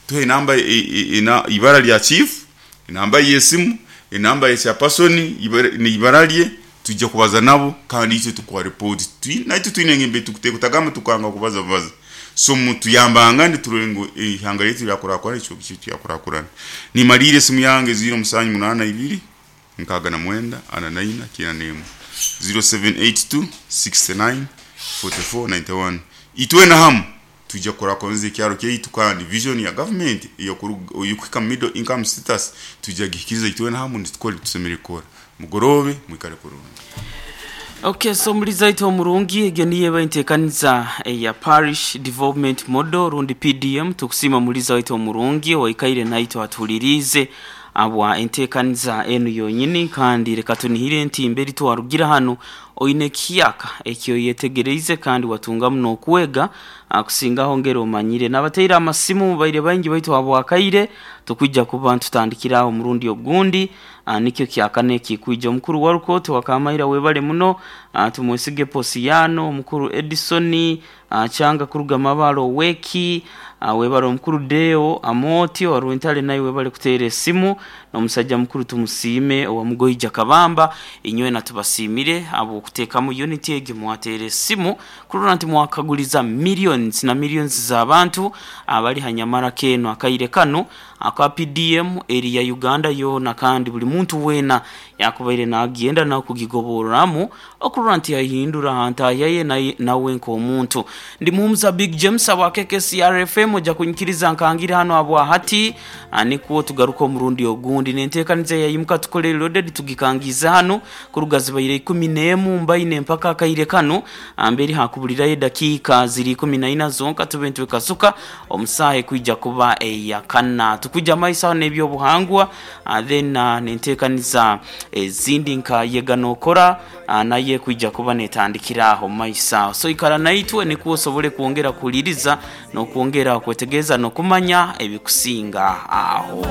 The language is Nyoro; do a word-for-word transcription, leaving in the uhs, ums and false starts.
Tuhe enamba, ibara lya chief, enamba y'esimu, enamba ya chairperson, n'ibara lye. Tujja kubaza nabo kandi itwe tukuha report. Naitwe twine engembe tukutagamba tukanga kubaza baza. So mutuyambangane turole ngu ihanga lyaitu lyakurakurana, ekicweka kyaitu kyakurakurana. Nimaliire, esimu yange ziro musanju munaana ibiri nkaaga na mwenda ana naina kyenda n'emu, ziro seven eight two sixty-nine forty-four ninety-one. Itwena hamu tujja kukurakuraniza ekyaro kyaitu, kandi vision ya gavumenti eyokuhika middle income status tujja gihikiriza itwena hamu nitukora ebitusemeriire kukora. Mugorobe, mwikale kurungi. Okay, so muliza omurungi, egyo niyo eba enteekaniza eya Parish Development Model rundi P D M. Tukusiima muliza waitu omurungi waikaire naitwe atuhuliriize abwa enteekaniza enu yonyini, kandi reka tunihire nti mberi twarugira hanu oine ekiyaka ekyo yetegereize kandi watungamu n'okwega kusingaho ngeri omanyire. N'abateire amasimu baire baingi, baitu habwakaire tukwija kuba ntutandikiraho omurundi ogundi. Nikyo kyakana ekikwija. Omukuru wa rukooti wakamaira, webale muno. Tumwesige Posiyano, omukuru Edison Kyanga kuruga Mabalo Oweki, webale. Omukuru Deo Amoti wa Rwentale, naye webale kuteera esimu, n'omusajja mukuru tumusiime owa Mugoija Kabamba. Inywena tubasiimire habw'okuteekamu unity egi, mwateera esimu kurora nti mwakaguliza millions na millions z'abantu abali hanyamara keno akaire kanu aka P D M eri ya Uganda yoona, kandi buli muntu weena yakubaire nagenda nakugigoborramu okurora nti yahindura hantahya ye nawe nk'omuntu. Ndi Muhumuza Big James abwa K K C R F M. Ojja kunyikiriza nkangire hano habwa hati, nikwo tugaruka omurundi ogundi nenteekaniza yayimuka tukole loaded. Tugikangiza hano kuruga zibaire ikumi n'emu mbaine mpaka akaire kanu mberi hakubulirayo edakiika ziri ikumi na ina zonka tube ntwekasuka omusaha ekwija kuba eyakana. Tukujja maiso aho n'ebyobuhangwa, then nenteekaniza ezindi nka yega nokora naye kwija kuba netandikira aho maiso aho. So ikara naitwe nikwo osobole kwongera kuhuliriza n'okwongera kwetegereza n'okumanya ebikusinga aho.